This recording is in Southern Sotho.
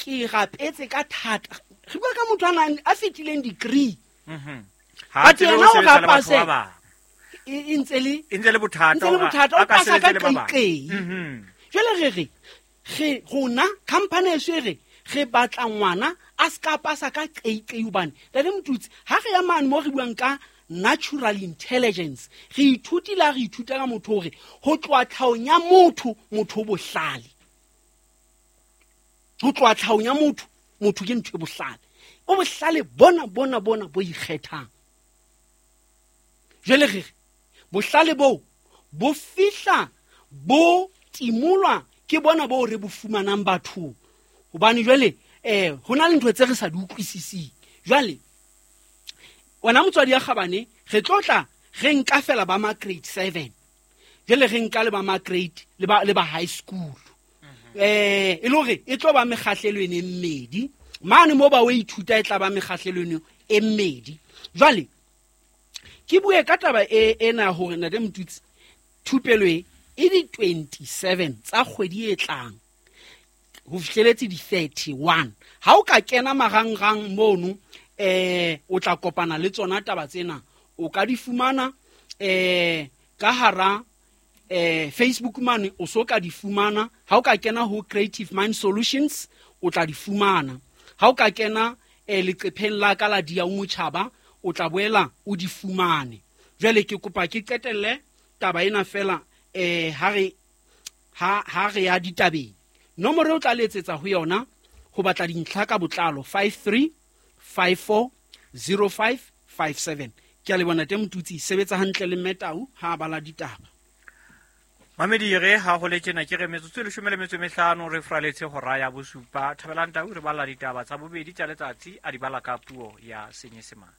Ke rapetse ka thata. Re bua ka motho a nang a fetileng degree. Ha But tsebe ho yena o sebetsa le batho rapase. ba bang. E ntse le E ntse le bothata ntse le hore bothata a o ka pasa ka sebetsa le ba bang. qeiqei. Jwale re re re rona company eso e re re batla ngwana a se ka pasa ka qeiqei, hobane Ntate Motutsi, ha re ya mane mo re buang ka natural intelligence, re ithutile ha re ithuta ka motho hore ho tloha tlhahong ya motho, motho o bohlale. Ho tloha tlhahong ya motho, motho ke ntho e bohlale, o bohlale bona bona bona bo ikgethang. Jwale re re bohlale boo bo fihla bo timolwa ke bona boo re bo fumanang bathong, hobane jwale ho na le ntho tse re sa di utlwisising. Jwale wena motswadi ya kgabane, re tlo tla re nka fela ba ma grade 7, jwale re nka le ba ma grade le ba, le ba high school, e le hore e tlo ba mekgahlelo ene e mmedi mane mo ba o ithuta, e tla ba mekgahlelo eno e mmedi. Jwale ke bue ka taba e ena hore Ntate Motutsi, thupelo e e di-27 tsa kgwedi e tlang ho fihleletse di-31. Ha o ka kena marangrang mono, o tla kopana le tsona taba tsena, o ka di fumana ka hara Facebook mane, o so ka di fumana. Ha o ka kena ho Creative Mind Solutions, o tla di fumana. Ha o ka kena leqepheng la ka la Dia o Motjhaba, o tla boela o di fumane. Jwale ke kopa ke qetelle taba ena fela, ha re ha re ya ditabeng. Nomoro eo tla letsetsa ho yona ho batla dintlha ka botlalo, 53540557. Ke a leboha Ntate Motutsi, sebetsa hantle le Mmetau ha a bala ditaba. Mamedi, re ha ho le tjena ke re metsotso e 15 re fraletse hora ya bosupa. Thabelang Tau re bala ditaba tsa bobedi tsa letsatsi, a di bala ka puo ya Senyesemane.